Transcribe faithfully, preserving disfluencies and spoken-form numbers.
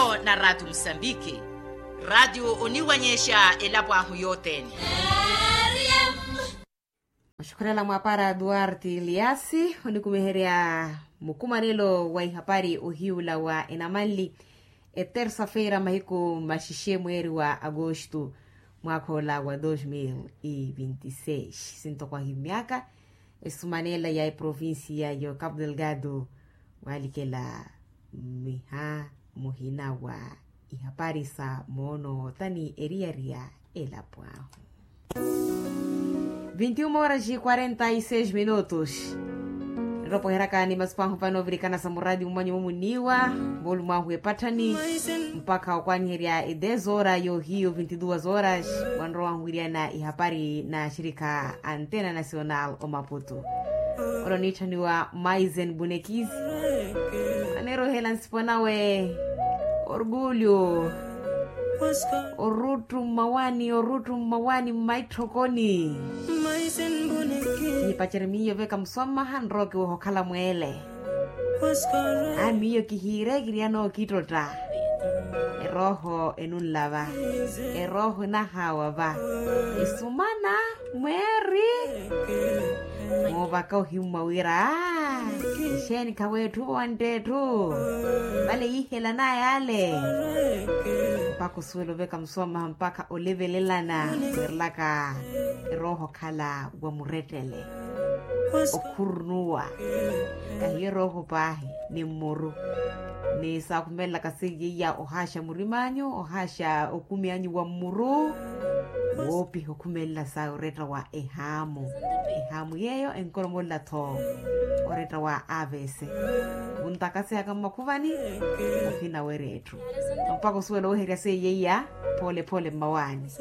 Na ratio musambiki, ratio oniwanyexa elapo ahu yothene. Oxukhulela mwapara duarte liasi onikumeherya mukumanelo wa ihapari ohiula wa enamanli, etersa-feira mahiku maxixe mweeri wa agosto, mwakha ola wa dos mil e vinti seis sintokwahi myaka esumanela ya eprovincia yo capu delgado, walikela miha muhina wa ihapari sa moono tani eriyariya elapo ahu. Vinti uma horas e quarenta e seis minutos. Nropoheraka ni masipo ahu vano ovirikana sa muradi mumanyu mumuniwa, molumo ahu epatthani mpakha okwanyiherya e dez horas yohiyo vinti duas horas, wanrowa ahu wiriana ihapari na axirikha antena nacional omaputu. Olo niitthaniwa maizen bunekisi, aneerohela nsipo nawe orgulyo, oruttu mmawani oruttu mmawani mmaitthokoni. Nipacerye miyo veka musoma hanrowa kiweha okhala mweele. A miyo kihiire kiriya nookittotta. Erooho enunlava, erooho enahawa va. Esumana mweeri. Moovaka ohimmwa wira, exeeni khaweetthu vo wantteetthu? Vale yiihelanaya ale. Mpakha osuwela oveka musoma mpakha olevelelana, weerelaka erooho okhala wa murettele, okhurunuwa. Kahiyo erooho paahi ni mmuru, ni saakhumelelaka seiya iya ohaaxa murim'anyu ohaaxa okumi anyu wa mmuru, woopiha okhumelela sa oretta wa ehaamu. Ehaamu yeeyo enkolomolela-tho oretta wa avc. Wuntakasihaka mmakhuvani, ohinawerya etthu mpakha osuwela oweherya seiya iya, phoole phoole mmawaani.